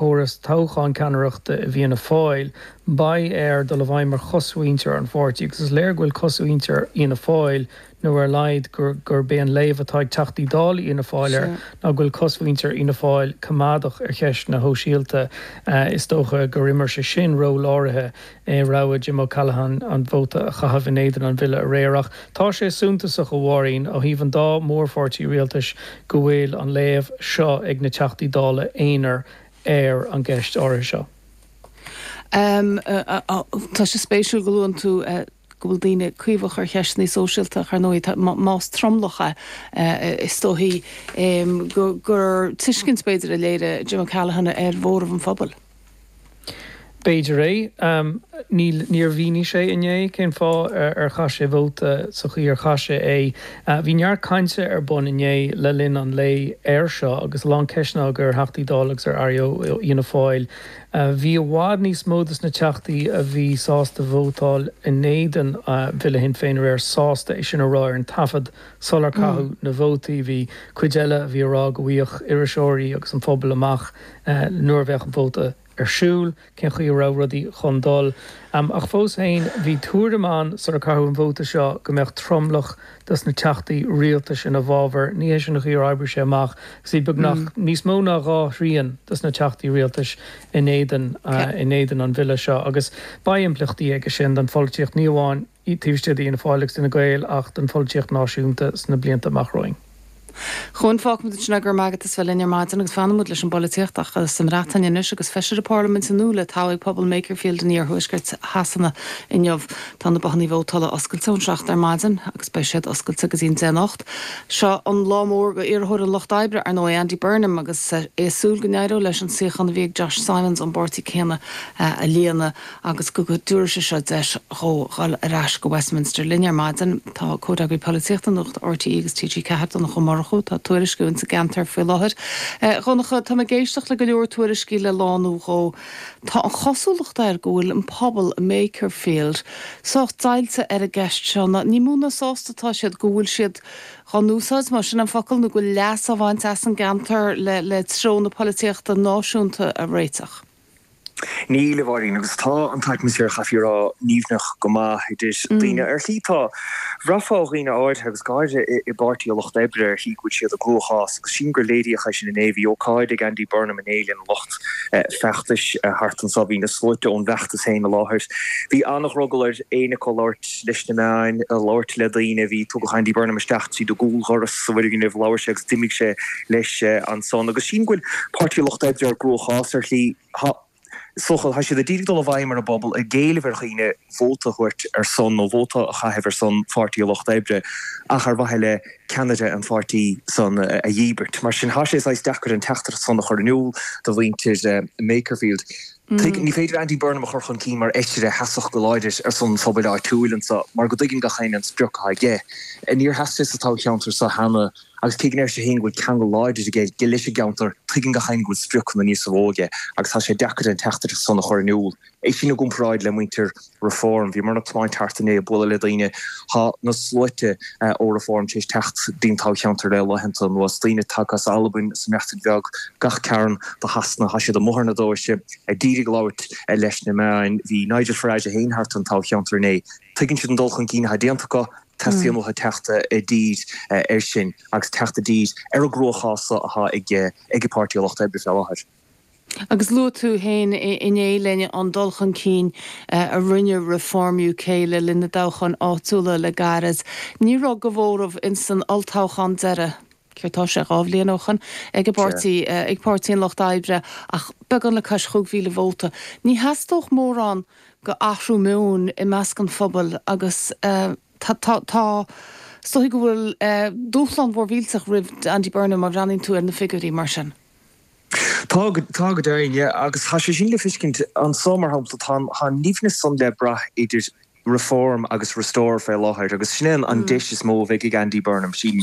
Córas toghcháin ceannaireachta i bhFianna Fáil, beidh air dul i bhfeidhm ar chosmhuintir an pháirtí agus is léir go bhfuil cosmhuintir Fhianna Fáil, nó ar a laghad gurb é an léamh atá ag Teachtaí Dála Fhianna Fáil air, ná go bhfuil cosmhuintir Fhianna Fáil coimeádach ar cheist na shóisialta. Is dócha gur imir sé sin ról áirithe i rogha Jim O'Callaghan an vóta a chaitheamh in éadan an bhille aréir. Ach tá sé suntasach, a Mháirín, ó thaobh an dá mhórpháirtí rialtais go bhfuil an léamh seo ag na Teachtaí Dála aonair ar an gceist áirithe seo. Tá sé spéisiúil go luann tú go bhfuil daoine caomhach ar cheisteanna sóisialta ach ar ndóigh más tromlach é is dóichí gur tuiscint b'fhéidir a léirigh Jim O'Callaghan ar mhóramh an phobail. B'fhéidir é. Níl, níor mhínigh sé inné cén fáth ar chaith sé vóta sa chaoi ar chaith sé é. Bhí neart cainte ar bun inné le linn an lae air seo agus a lán ceisteanna á gcur ar Theachtaí Dála agus ar Airí ó Fhianna Fáil. Bhí i bhfad níos mó dos na Teachtaí a bhí sásta vótáil in éadan Bhille Shinn Féin aréir sásta é sin a rá ar an taifead sular caitheadh na vótaí. Bhí cuid eile a bhí ag rá go bhfaigheadh iriseoirí agus an phobal amach nuair a bheadh an vóta ar siúl, cén chaoi a raibh rudaí chun dul. Ach fós féin, bhí tuairim ann sular caitheadh an vóta seo go mbeadh tromlach dos na teachtaí rialtais ina bhfabhar. Ní hé sin an chaoi ar oibrigh sé amach agus bhí beagnach níos mó ná dhá thrian dos na teachtaí rialtais in éadan in éadan an bhille seo agus beidh impleachtaí aige sin don pholaitíocht, ní amháin taobh istigh d'Fhianna Fáil agus d'Fhine Gael ach don pholaitíocht náisiúnta sna blianta amach romhainn. Chuan, fágfaimid ansin é, go raibh maith agat as bheith linn ar maidin agus fanfaimid leis an bpolaitíocht ach sa mBreatain anois agus Feisire Parlaiminte nua le toghadh ag pobal Makerfield in iarthuaisceart Shasana inniu. Tá na bothannaí vótála oscailte ón 7 ar maidin agus beidh siad oscailte go dtí an 10 anocht. Seo an lá mór do iarrthóir an Lucht Oibre, ar ndóigh, Andy Burnham agus é ag súil go n-éireoidh leis an suíochán a bhí ag Josh Simons ón bpáirtí céanna a líonadh. agus go dtabharfaidh sé seo deis dhó dhul ar ais go Westminster. Linn ar maidin tá Comhfhreagraí Polaitíochta Nuacht RTÉ agus TG4, Donncha Ó Murchú, atá ag tuairisciú ins an gceantar faoi láthair. A Dhonncha, tá mé ag éisteacht le go leor tuairiscí le lá nó dhó. Tá an chosúlacht air go bhfuil an pobal i Makerfield sách deighilte ar an gceist seo. Ní mó ná sásta atá siad go bhfuil siad dhá n-úsáid, más sin an focal, nó go bhfuil leas á bhaint as an gceantar le treo na polaitíochta náisiúnta a réiteach. Níl, a Mháirín, agus tá an t-atmaisféar, chaithfí a rá, nimhneach go maith idir daoine. Ar shlí tá, bhraithfeá ó dhaoine áirithe, agus go háirithe i bPáirtí an Lucht Oibre, ar shlí go bhfuil siad i gcruachás, agus sílim gur léiríodh é sin inné. Bhí ócáid ag Andy Burnham inné lena lucht feachtais thart anseo. Bhí na sluaite ón bhfeachtas féin i láthair. Bhí an-dhrogall ar éinne acu labhairt leis na meáin, labhairt le daoine. Bhí, tugadh Andy Burnham isteach tríd an gcúldhoras sa bhfoirgneamh, labhair sé agus d'imigh sé leis ansan. Agus sílim go bhfuil Páirtí an Lucht Oibre i gcruachás ar shlí. Tá, is dócha, tá siad ag iarraidh dul i bhfeidhm ar an bpobal, ag éileamh ar dhaoine vóta a thabhairt ar son, nó vóta a chaitheamh ar son Pháirtí an Lucht Oibre, ach ar mhaithe le ceannaire an pháirtí san a dhíbirt. Mar sin, tá sé saghas deacair an teachtaireacht san a chur in iúl do mhuintir Makerfield. Tuig, ní féidir Andy Burnham a chur chun cinn mar fheisire a sheasfadh go láidir ar son an phobail áitiúil anso, mar go dtuigeann gach éinne an sprioc atá aige. Níor sheas sé sa toghcheantar so cheana. Agus cé go ndeir sé féin go bhfuil ceangal láidir aige leis an gceantar, tuigeann gach éinne go bhfuil spriocanna níosa mhó aige agus tá sé deacair an teachtaireacht san a chur in iúl. É sin i gcomparáid le muintir Reform. Bhíomar ag tiomáint thart inné ag bualadh le daoine. Tá na sluaite ó Reform tar éis teacht dtí'n toghcheantar le laethanta anuas. Daoine tagtha as Albain, as an mBreatain Bheag, gach cearn de Shasana. Tá siad amuigh ar na doirse ag iarraidh labhairt leis na meáin. Bhí Nigel Farage é féin thart an toghcheantar inné. Tuigeann siad an dul chun cinn atá déanta acu. Teastaíonn uathu teacht i dtír air sin agus teacht i dtír ar an gcruachás atá ag ag Páirtí an Lucht Oibre fé láthair. Agus luaigh tú féin inné linn an dul chun cinn a rinne Reform UK le linn na dtoghchán áitiúla le gairid. Ní raibh de mhóramh ins an olltoghchán deiridh, céard tá sé, 2 bhliain ó shoin, ag an bpáirtí, ag Páirtí an Lucht Oibre ach beagán le cois 5,000 vóta. Ní theastódh mórán go athrú meoin i measc an phobail agus tá, tá, tá, is dóigh go bhfuil dúshlán mhór mhillteach roimh Andy Burnham má bhreathnaíonn tú ar na figiúirí mar sin. Tá, tá go deimhin, yeah, agus tá sé sin le feiscint anso, mar shampla, tá an, tá an nimhneas san le brath idir Reform agus Restore fé láthair agus sin é an deis is mó a bheidh ag Andy Burnham, sílim.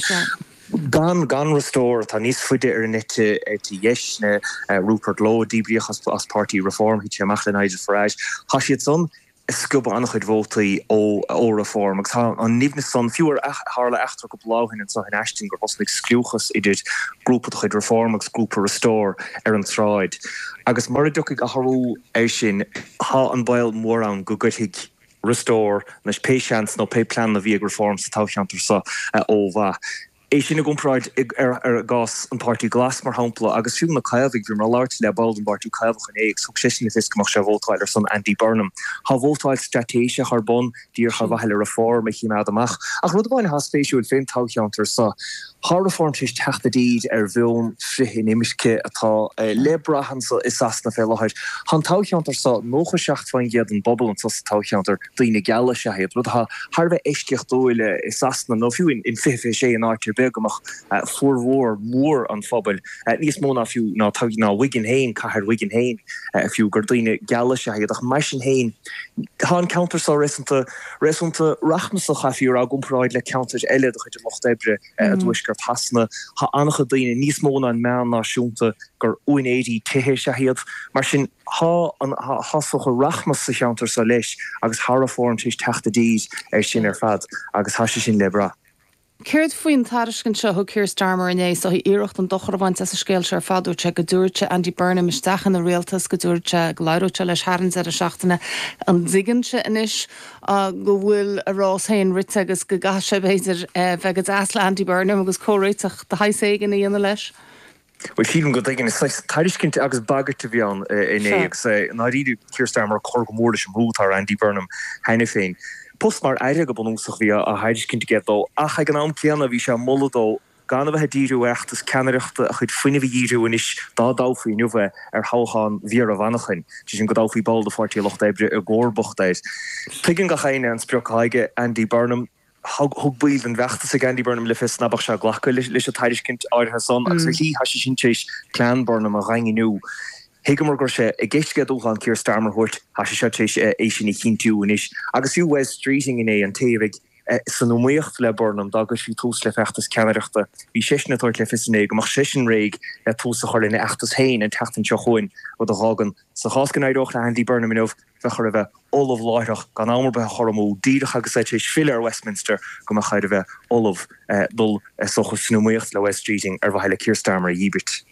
Gan, gan Restore, atá níos faide ar an eite, eite dheis, ná Rupert Lowe, díbríodh as, as páirtí Reform, thit sé amach le Nigel Farage. Tá siad san. ag sciobadh an-chuid vótaí ó Reform agus tá an nimhneas san, fiú ar tharla eachtra cúpla lá ó shin anseo in Ashton gur thosnaigh scliúchas idir grúpa de chuid Reform agus grúpa Restore ar an tsráid agus mura dtiocfaidh athrú air sin tá an baol mór ann go gcuirfidh Restore anois pé seans nó pé plean a bhí ag Reform sa toghcheantar seo ó mhaith. É sin i gcomparáid ar gcás an Páirtí Glas, mar shampla, agus fiú na Caomhaigh. Bhíomar ag labhairt le ball den bPáirtí Caomhach inné agus thug seisean le fios go mbeadh sé ag vótáil ar son Andy Burnham. Tá vótáil straitéiseach ar bun díreach ar mhaithe le Reform a chimeád amach. Ach rud amháin atá spéisiúil fén toghcheantar seo, tá Reform tar éis teacht i dtír ar mheon frith-inimirce atá le brath anso i Sasana fé láthair. Tá an toghcheantar seo, 97% den bpobal anso sa toghcheantar, daoine geala is ea iad, rud atá thar a bheith eisceachtúil i Sasana nó fiú in 2026 in áit ar bith go mbeadh formhór mór an phobail, níos mó ná fiú ná ná Wigan féin, cathair Wigan féin fiú, gur daoine geala is ea iad. Ach mar sin féin, tá an ceantar seo réasúnta réasúnta rachmasach, chaithfí a rá, i gcomparáid le ceantair eile de chuid an Lucht Oibre i dtuaisceart Shasana. Tá an-chuid daoine, níos mó ná an meán náisiúnta, gur úinéirí tithe is ea iad. Mar sin. Tá an, tá is dócha, rachmas sa cheantar seo leis agus tá Reform tar éis teacht i dtír air sin ar fad agus tá sé sin le brath. Céard faoin tairiscint seo a thug Keir Starmer inné, is dóigh, iarracht an dochar a bhaint as an scéal seo ar fad? Dúirt sé go dtabharfadh sé Andy Burnham isteach ina rialtas, go dtabharfadh sé, go labhródh sé leis thar an deireadh seachtaine. An dtuigeann sé anois go bhfuil a rás féin rite agus go gcaithfidh sé, b'fhéidir, bheith go deas le Andy Burnham agus comhréiteach de shaghas éigin a dhéanamh leis? Bhuel, sílim go dtuigeann. Is saghas tairiscint agus bagairt a bhí ann inné agus i ndáiríre Keir Starmer ag cur go mór leis an mbrú atá ar Andy Burnham cheana féin. Post mar aire go bunúsach a bhí á thairiscint aige dó ach ag an am céanna bhí sé ag moladh dó gan a bheith ag díriú ar fheachtas ceannaireachta, a chuid fuinnimh a dhíriú anois, dá dtoghfaí inniu é, ar thoghchán Mhéara Mhanchain, sé sin go dtoghfaí ball de Pháirtí an Lucht Oibre i gcomharbacht air. Tuigeann gach éinne an sprioc atá aige Andy Burnham. Thug baill den bhfeachtas ag Andy Burnham le fios ná beadh sé ag glacadh leis an tairiscint áirithe san agus ar shlí tá sé sin tar éis plean Burnham a dhaingniú. Thuigeamar go raibh sé i gceist aige dúshlán Keir Starmer a thabhairt, tá sé seo tar éis é sin a chinntiú anois. Agus fiú Wes Streeting inné, an té a bheidh san iomaíocht le Burnham dá gcuirfí tús le feachtas ceannaireachta, bhí seisean ag tabhairt le fios inné go mbeadh seisean réidh le tús a chur lena fheachtas féin an tseachtain seo chugainn, rud a dh'fhágann, sa chás go n-éireodh le Andy Burnham inniu, bheadh air a bheith ullamh láithreach, gan am ar bith a chur amú, díreach agus é tar éis filleadh ar Westminster, go mbeadh air a bheith ullamh dul, is dócha, san iomaíocht le Wes Streeting ar mhaithe le Keir Starmer a dhíbirt.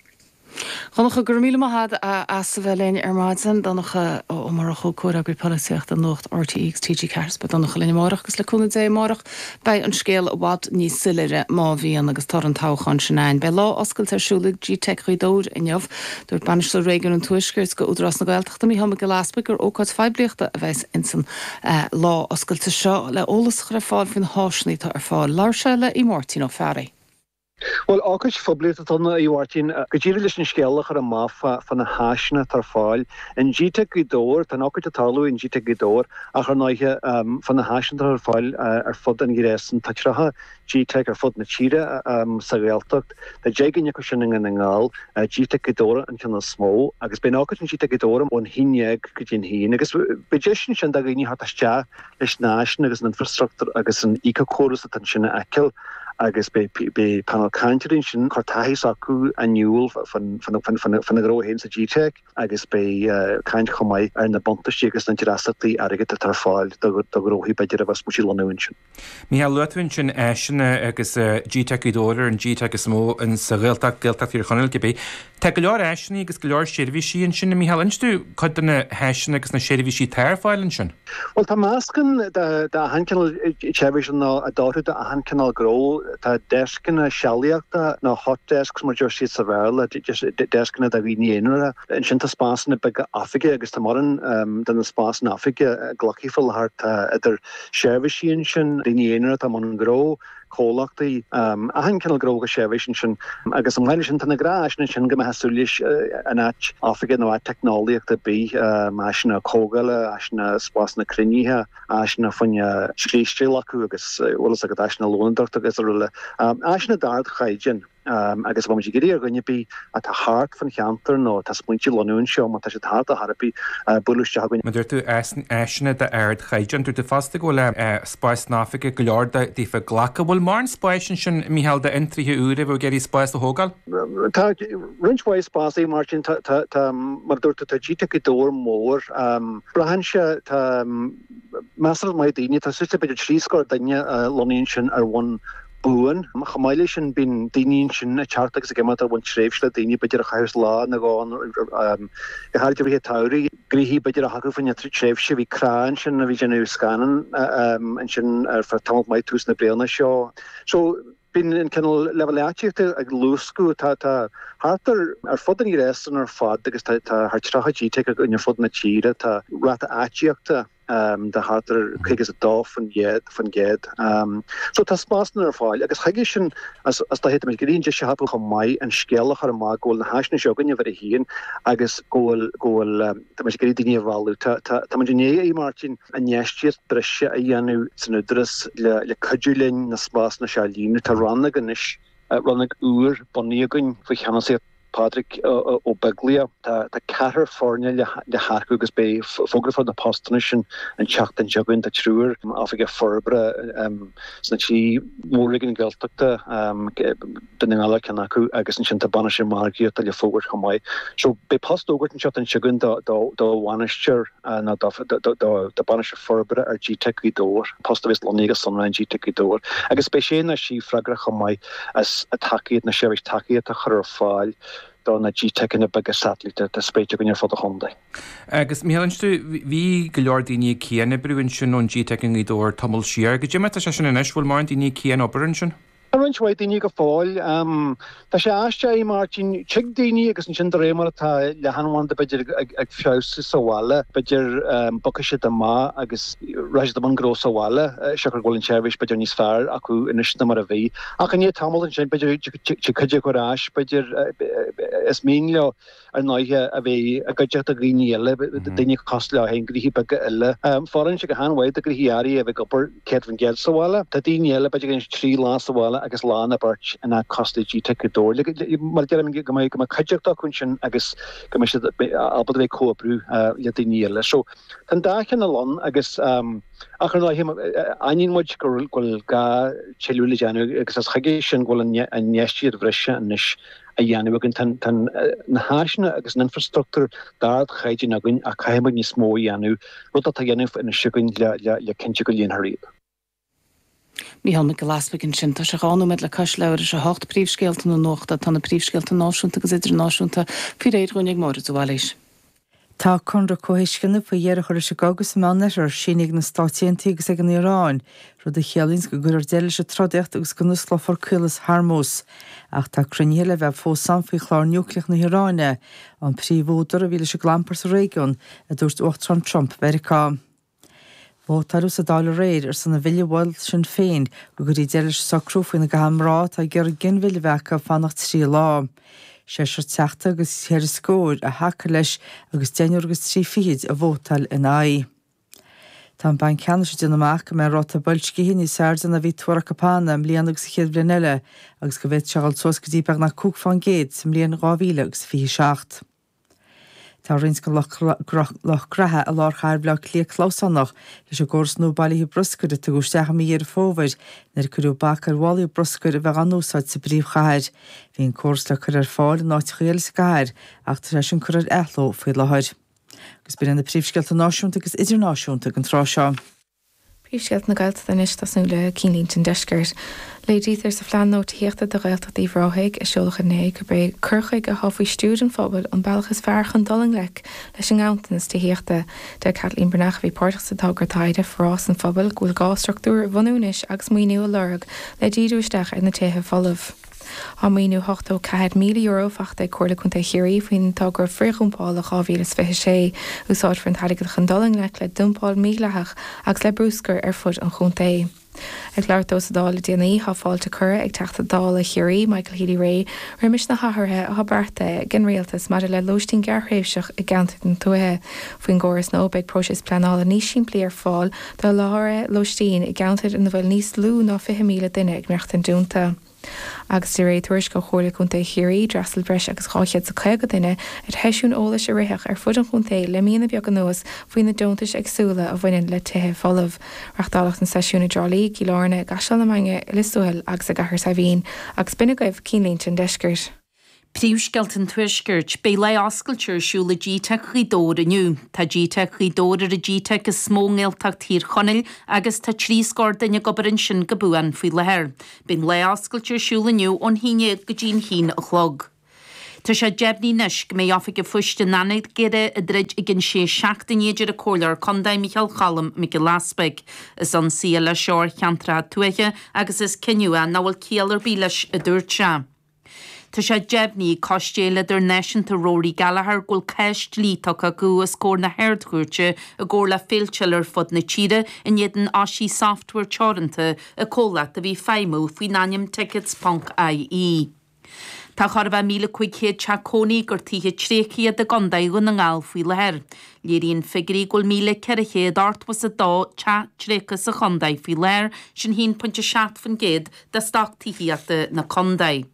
Donncha, go raibh míle maith agat as a bheith linn ar maidin. Donncha Ó Murchú, Comhfhreagraí Polaitíochta Nuacht RTÉ agus TG4. Is beidh Donncha linn amárach agus le cúnamh Dé amárach beidh an scéal i bhfad níos soiléire má bhíonn agus toradh an toghcháin sin ann. Beidh lá oscailte ar siúl ag GTeic Ghaoth Dobhair inniu. Dúirt Bainisteoir Réigiún an Tuaiscirt go Údarás na Gaeltachta, Micheál Mac Giolla Easbuig gur ócáid phoiblíochta a bheas insan lá oscailte seo le eolas a chur ar fáil faoi na háiseanna atá ar fáil. Labhair sé le Aodh Máirtín Ó Fearraigh. Bhuel, ócáid phoiblíochta atá ann, a Mháirtín, go díreach leis an scéal a chur amach fá na háiseanna atá ar fáil in GTeic Ghaoth Dobhair. Tá an ócáid ag tarlú in GTeic Ghaoth Dobhair ach ar ndóighe fá na háiseanna atá ar fáil ar fud an ghréasáin. Tá 30 GTeic ar fud na tíre sa Ghaeltacht. Tá 10 gcinn acu sin i nDún na nGall. GTeic Ghaoth Dobhair an ceann is mó agus beidh an ócáid in GTeic Ghaoth Dobhair ón 11 go dtí an 1 agus beidh deis ansin do dhaoine theacht isteach leis na háiseanna agus an infreastruchtúr agus an éiceachóras atá ansin a fheiceáil agus beidh painéal cainteoirí ansin ag cur taithí s'acu in iúl faoina ngnó féin sa GTeic. agus beidh caint chomh maith ar na buntáistí agus na dreasachtaí airgid atá ar fáil do ghnóthaí b'fhéidir a bheas ag smaointiú lonnú ansin. Micheál, luaigh tú ansin áiseanna agus GTeic Ghaoth Dobhair ar an GTeic is mó sa Ghaeltacht, Gaeltacht Thír Chonaill cibé. Tá go leor áiseanna agus go leor seirbhísí ansin, a Mhicheál. Inis dúinn cuid de na háiseanna agus na seirbhísí atá ar fáil ansin. Bhuel, tá meascán d'achan cineál seirbhís ann a d'oirfeadh d'achan cineál gnó. Tá deascanna sealaíochta, nó hot desks mar a deir siad sa Bhéarla, deascanna do dhaoine aonaracha. Ansin tá spásanna beaga oifige agus tá mórán de na spásanna oifige glactha faoi láthair. Tá idir seirbhísí ansin, daoine aonaracha atá i mbun gnó, comhlachtaí, achan cineál gnó agus seirbhís ansin. Agus chomh maith leis sin, tá na gnáth-áiseanna ansin go mbeifeá ag súil leis in áit oifige nó áit teicneolaíochta ar bith, áiseanna comhdhála, áiseanna spásanna cruinnithe, áiseanna fá choinne scrísteáil acu agus, bhfuil fhios agat, áiseanna lónadóireachta agus araile. Áiseanna d'ardchaighdeán. Agus tá muid ag iarraidh ar dhuine ar bith atá thart fan cheantar nó atá smaointiú lonnú anseo, má tá siad thart ar chor ar bith, bualadh isteach chugainn. Mar dúirt tú, áiseanna d'ardchaighdeán. Dúirt tú fosta go bhfuil spás san oifig go leor daofa glacadh. Bhfuil mórán spáis ansin, Mícheál, d'fhiontraithe úra a bheadh ag iarraidh spás a thógáil? Tá roinnt mhaith spás, a Mháirtín. Tá, mar a dúirt tú, tá GTeic Ghaoth Dobhair mór. Braitheann sé, tá measartha maith daoine, tá suas le b'fhéidir 30 duine lonnaithe ansin ar bhonn buan. Chomh maith leis sin, bíonn daoine ansin ag teacht agus ag imeacht ar bhonn tréimhse le daoine b'fhéidir a chaitheas lá nó dhó go háirid i rith an tsamhraidh, gnoithí b'fhéidir a thagadh faoin tréimhse. Bhí crá ansin a bhí ag déanamh scannán ansin ar feadh tamall maith tús na bliana seo. So, bíonn an cineál leibhéal áitíochta ag luascadh. Tá thart ar ar fud an ghréasáin ar fad agus tá thart 30 GTeic againn ar fud na tíre, tá ráta áitíochta, de thart ar 52%. So tá spásanna ar fáil agus chuige sin is dóiche tá muid ag iarraidh an deis a thapú chomh maith an scéal a chur amach go bhfuil na háiseanna seo againn uimhir a haon agus go bhfuil go bhfuil tá muid ag iarraidh daoine a mhealladh. Tá tá tá muid i ndiaidh, a Mháirtín, infheistíocht breise a dhéanamh san Údarás le le cuidiú linn na spásanna seo a líonadh. Tá rannóg anois, rannóg úr bunaithe againn faoi cheannasaíocht Pádraig Ó Beaglaoich. Tá ceathrar foirne le hearcú agus beidh fógra fá na postanna sin an tseachtain seo chugainn. Tá triúr oifigeach forbartha sna trí mhór-réigiún Gaeltachta, Dún na nGall ar ceann acu agus ansin tá bainisteoir margaíochta le fógairt chomh maith. So beidh post á fhógairt an tseachtain seo chugainn do bhainisteoir nó do bhainisteoir forbartha ar GTeic Ghaoth Dobhair, post a bheas lonnaithe go sonrath in GTeic Ghaoth Dobhair agus beidh sé nó sí freagrach chomh maith as an tacaíocht, na seirbhís tacaíochta a chur ar fáil do na GTeiceanna beaga satailíte atá spréite againn ar fud an chontae. Agus, Mícheál, inis dúinn, bhí go leor daoine ag cian-oibriú ansin ón GTeic i nGaoth Dobhair tamall siar. Goidé mar atá sé sin anois, bhfuil mórán daoine ag cian-obair ansin? Tá roinnt mhaith daoine go fóill. Tá sé aisteach, a Mháirtín. Tig daoine agus ansin de réir mar atá leathanbhanda b'fhéidir ag feabhsú sa bhaile, b'fhéidir bogfaidh siad amach agus rachaidh siad i mbun gnó sa bhaile, siocair go bhfuil an tseirbhís b'fhéidir níos fearr acu anois ná mar a bhí. Ach i ndiaidh tamaill ansin b'fhéidir tig cuid acu ar ais, b'fhéidir is mian leo ar ndóighe a bheith i gcuideachta dhaoine eile, daoine cosúil leo féin, gnoithí beaga eile. Fóireann sé go han-mhaith do ghnoithí áirithe a bheith ag obair 100% sa bhaile. Tá daoine eile, b'fhéidir go ndéanann siad 3 lá sa bhaile agus lá nó beirt in áit cosúil le GTeic Ghaoth Dobhair. Mar a deirim, go mbeidh cuideachta acu ansin agus go mbeidh siad ábalta a bheith ag comhoibriú le daoine eile. So, tá an dá chineál ann agus ach ar ndóighe, aithníonn muid go bhfuil gá tuilleadh le déanamh agus is chuige sin go bhfuil an infheistíocht bhreise anois a dhéanamh againn. Tá na háiseanna agus an infreastruchtúr d'ardchaighdeán againn ach caithfidh muid níos mó a dhéanamh, rud atá á dhéanamh anois againn le cinntiú go líonfar iad. Mícheál Mac Giolla Easbuig ansin. Tá sé 2 nóiméad le cois leathuair tar éis a 8, príomhscéalta na nuachta. Tá na príomhscéalta náisiúnta agus idirnáisiúnta faoi réir dhúinn ag Máire de Bhailís. Tá conradh comhthuisceana faoi dheireadh a chur leis an gcogadh sa Meánoirthear, sínithe ag na Stáit Aontaithe agus ag an Iaráin, rud a chiallaíonns go gcuirfear deireadh leis an trodaíocht agus go n-osclófar Caolas Hormuz. Ach tá cruinnithe le bheith fós ann faoi chlár núicléach na hIaráine, an príomhúdar a bhí leis an gclampar sa réigiún, a dúirt Uachtarán Trump Mheiriceá. Vótáileadh sa Dáil aréir ar son an bhille a mhol Sinn Féin go gcuirfí deireadh leis an socrú faoina gcaithfidh mná atá ag iarraidh ginmhilleadh a bheith acu fanacht 3 lá. Seisear teachta agus cheithre scór a thacaigh leis agus deichniúr agus trí fichid a vótáil ina aghaidh. Tá an Banc Ceannais ag déanamh amach go mbeidh an ráta boilscithe níos airde ná a bhí tuartha acu cheana i mbliana agus sa chéad bhliain eile agus go bhféadfadh sé a dhul suas go dtí beagnach 5 fán gcéad sa mbliain 2027. Tá roinnt den lucht graithe i lár chathair Bhaile Átha Cliath clamhsánach leis an gcóras nua bailithe bruscair a tugadh isteach i mí Dheireadh Fómhair nuair a cuireadh bac ar mhálaí bruscair a bheith á n-úsáid sa bpríomhchathair. Bhí an córas le cur ar fáil in áiteacha eile sa gcathair ach tá sé sin curtha ar athló faoi láthair. Agus b'in iad na príomhscéalta náisiúnta agus idirnáisiúnta ag an tráth seo. Príomhscéalta na Gaeltachta anois, ag tosnú le cinnlínte an deiscirt. Léirítear sa phlean nua tithíochta do Ghaeltacht Uíbh Ráthaigh, a seoladh inné, gurb é cur chuige atá faoi stiúir an phobail an bealach is fearr chun dul i ngleic leis an nganntanas tithíochta. Deir Caitlín Breathnach, a bhí páirteach sa togra taighde, Forás an Phobail, go bhfuil gá struchtúir a bhunú anois agus maoiniú a lorg le díriú isteach ar na tithe folamh. Tá maoiniú €84,000 faighte ag Comhairle Contae Chiarraí faoin togra frithdhumpála 2026. Úsáidfear an t-airgead chun dul i ngleic le dumpáil mhídhleathach agus le bruscar ar fud an chontae. Ag labhairt dó sa Dáil le déanaí, tá fáilte curtha ag Teachta Dála Chiarraí, Michael Healy-Rae, roimis na hathruithe atá beartaithe ag an Rialtas maidir le lóistín gearrthréimhseach i gceantair na tuaithe. Faoin gcóras nua, beidh próiseas pleanála níos simplí ar fáil do sholáthraithe lóistín i gceantair ina bhfuil níos lú ná 20,000 duine ag maireachtaint iontu. Agus de réir tuairisc ó Chomhairle Contae Chiarraí, d'fhreastail breis agus 250 duine ar sheisiúin eolais a ritheadh ar fud an chontae le míonna beaga anuas faoi na deontais éagsúla a bhaineann le tithe folamh. Reachtáladh na seisiúin i dTrá Lí, i gCill Airne, i gCaisleán na Mainge, i Lios Tuathail agus i gCathair Saidhbhín. Agus b'in agaibh Cinnlínte an Deiscirt. Príomhscéalta an Tuaiscirt. Beidh lá oscailte ar siúl i GTeic Ghaoth Dobhair inniu. Tá GTeic Ghaoth Dobhair ar an GTeic is mó i nGaeltacht Thír Chonaill agus tá 30 scór duine ag obair ansin go buan faoi láthair. Beidh an lá oscailte ar siúl inniu ón haon dhéag go dtí an haon a chlog. Tá sé deimhnithe anois go mbeidh Oifig an Phoist in Anagaire ag druid i gcionn sé seachtainí a deir an Comhairleoir Contae Micheál Cholm Mac Giolla Easpaig. Is ionsaí é seo ar cheantracha tuaithe agus is cinneadh é nach bhfuil ciall ar bith leis a dúirt sé. Tá sé deimhnithe ag Coiste Fhéile Idirnáisiúnta Rory Gallagher go bhfuil cás dlí tugtha acu os comhair na hArd-Chúirte i gcomhar le féilte eile ar fud na tíre in éadan Oisí Software Teoranta, an comhlacht a bhí ag feidhmiú faoin ainm Tickets ponc IE. Tá chóir a bheith 1,500 teach cónaí gur tithe tréigthe iad i gContae Dhún na nGall faoi láthair. Léiríonn figiúirí go bhfuil 1,482 teach tréigthe sa chontae faoi láthair, sin 1.7% de stoc tithíochta na contae.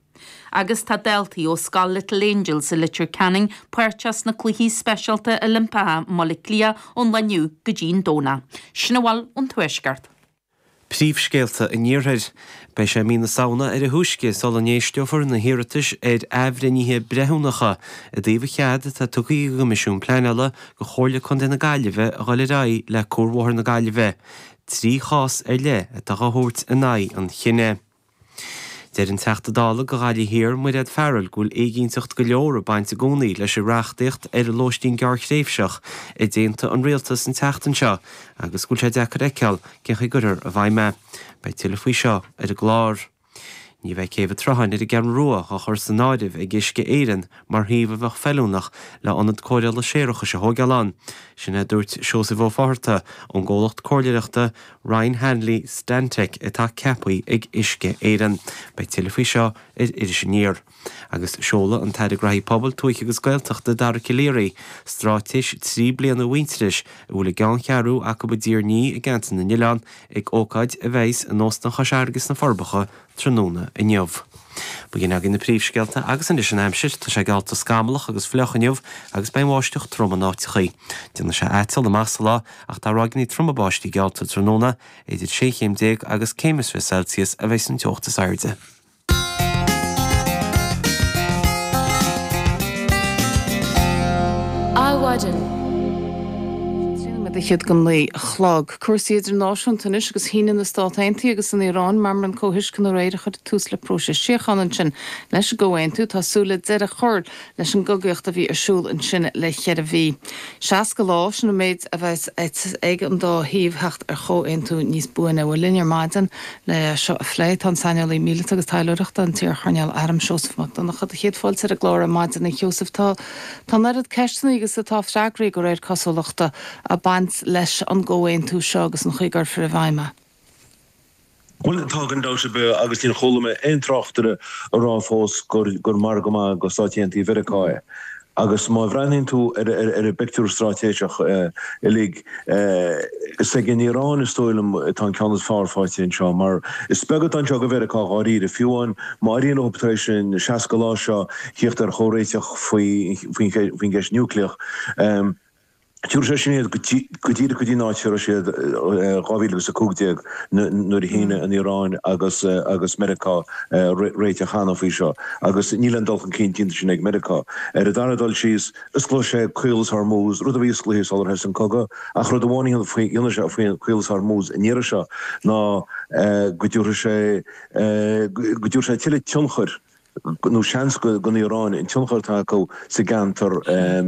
Agus tá daltaí ó scoil Little Angels i Leitir Ceanainn páirteach sna Cluichí Speisialta Oilimpeacha i mBaile Átha Cliath ón lá inniu go dtí an Domhnach. Sin a bhfuil ón Tuaisceart. Príomhscéalta an Iarthair. Beidh sé mí na Samhna ar a thúisce sula n-éisteofar na hiarratais ar athbhreithnithe breithiúnacha i dtaobh an chead atá tugtha ag an gCoimisiún Pleanála do Chomhairle Contae na Gaillimhe a dhul ar aghaidh le Cuarbhóthar na Gaillimhe. 3 chás ar leith atá á thabhairt in aghaidh an chinnidh. Deir an Teachta Dála do Ghaillimh Thiar, Mairéad Farrell, go bhfuil éiginnteacht go leor ag baint i gcónaí leis an reachtaíocht ar lóistín gearrthréimhseach a d'aontaigh an Rialtas an tseachtain seo agus go bhfuil sé deacair a fheiceáil cén chaoi a gcuirfear i bhfeidhm é. Beidh tuilleadh faoi seo ar an gclár. Ní bheidh Céibh an tSrutháin ar an gCeathrú Rua á chur san áireamh ag Uisce Éireann mar shuíomh a bheadh feiliúnach le ionad cóireála séarachais a thóigeáil ann. Sin é a dúirt Seosamh Ó Fátharta ón gcomhlacht comhairleoireachta Ryan Hanley Stantec atá ceaptha ag Uisce Éireann. Beidh tuilleadh faoi seo ar Iris Aniar. Agus seolfaidh an tAire Graithí Pobail, Tuaithe agus Gaeltachta Dara Calleary straitéis 3 bliana Mhuintearais a bhfuil a gceanncheathrú acu i dTír an Fhia i gCeantar na nOileán ag ócáid a bheas in Óstán Chois Fharraige sna Forbacha tráthnóna inniu. B'in agaibh na príomhscéalta agus anois an aimsir. Tá sé geallta scamallach agus fliuch inniu agus beidh an bháisteach trom in áiteachaí. Déanfaidh sé aiteal amach sa lá ach tá ráigeanna troma báistí geallta tráthnóna. Idir sé chéim déag agus céim is 20 Celsius a bheas an teocht is airde. Adhmhaidin. 3 nóiméad fhichead go 9 a chlog. Cúrsaí idirnáisiúnta anois agus shínigh na Stát Aontaithe agus an Iaráin meamram comhthuisceana aréir a chuirfidh tús le próiseas síochána ansin. Leis an gcomhaontú, tá súil le deireadh a chur leis an gcogaíocht a bhí ar siúl ansin le cheithre mhí. 60 lá, sin an méid a bheas ag an dá thaobh theacht ar chomhaontú níos buaine. Bhuel, linn ar maidin le seo a phlé tá an saineolaí míleata agus taidhleoireachta, an t-iar-choirnéal airm Seosamh Mac Donncha. Do chéad fáilte ar an gclár ar maidin, a Sheosaimh. Tá tá an oiread ceisteanna agus atá freagraí, de réir cosúlachta, ag baint leis an gcomhaontú seo agus an chaoi a gcuirfear i bhfeidhm é. Bhuel, tá gan dabht ar bith, agus níor chuala mé aon tráchtaire ag rá fós gur margadh maith do Stáit Aontaithe Mheiriceá é. Agus má bhreathnaíonn tú ar an bpictiúr straitéiseach uilig, is ag an Iaráin is dóigh liom atá an ceann is fearr faighte anseo, mar is beag atá anseo do Mheiriceá dháiríre. Fiú amháin má éiríonn leo tar éis an 60 lá seo thíocht ar chomhréiteach faoin gceist núicléach, Tabharfaidh sé sin iad go díreach go dtí an áit a raibh siad i 2015 nuair a shínigh an Iaráin agus agus Meiriceá réiteach cheana faoi seo agus níl aon dul chun cinn déanta sin ag Meiriceá. Ar an dara dul síos, osclóidh sé Caolas Hormuz, rud a bhí osclaithe sular thosaigh an cogadh, ach rud amháin a dhéanfaidh sé faoi Chaolas Hormuz an iarraidh seo ná go dtabharfaidh sé go dtabharfaidh sé tuilleadh tionchair nó seans don Iaráin an tionchar atá acu sa gceantar a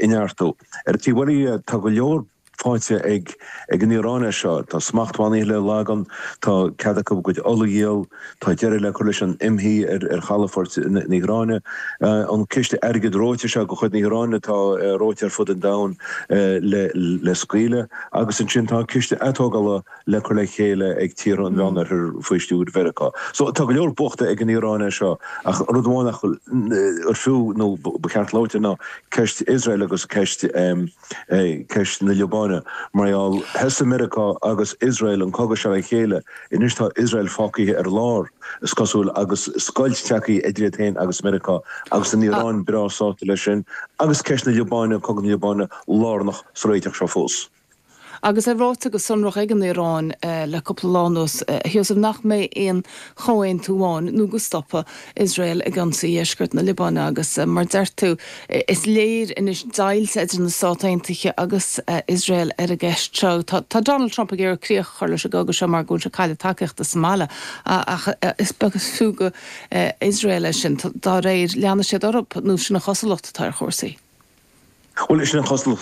neartú. Ar an taobh eile dhe, tá go leor faighte ag an Iaráin as seo. Tá smachtbhannaí le leagan, tá cead acu a gcuid ola a dhíol, tá deireadh le cur leis an imshuí ar chalafoirt na hIaráine, an ciste airgid reoite seo de chuid na hIaráine atá reoite ar fud an domhain le scaoileadh, agus ansin tá an ciste atógála le cur le chéile ag tíortha an Mheánoirthir faoi stiúir Mheiriceá. So tá go leor buachta ag an Iaráin as seo ach rud amháin nach ar fiú nó ba cheart labhairt air ná ceist Iosrael agus ceist ceist na Liobáine. Liobáine mar gheall, thosaigh Meiriceá agus Iosrael an cogadh seo le chéile, anois tá Iosrael fágtha ar lár, is cosúil, agus scoilt tagtha idir iad féin agus Meiriceá, agus an Iaráin breá sásta leis sin, agus ceist na Liobáine, cogadh na Liobáine, lárnach sa réiteach seo fós. Agus é ráite go sonrach ag an Iaráin le cúpla lá anuas, a Sheosaimh, nach mbeidh aon chomhaontú ann nó go stopfaidh Iosrael ag ionsaí dheisceart na Liobáine agus, mar deir tú, is léir anois deighilt idir na Stáit Aontaithe agus Iosrael ar an gceist seo. Tá Donald Trump ag iarraidh críoch a chur leis an gcogadh seo mar go bhfuil sé ag cailleadh tacaíochta sa mbaile ach is beag is fiú do Iosrael é sin. Dá réir, leanfaidh siad orthu nó sin an chosúlacht atá ar chúrsaí. Bhuel, sin an chosúlacht.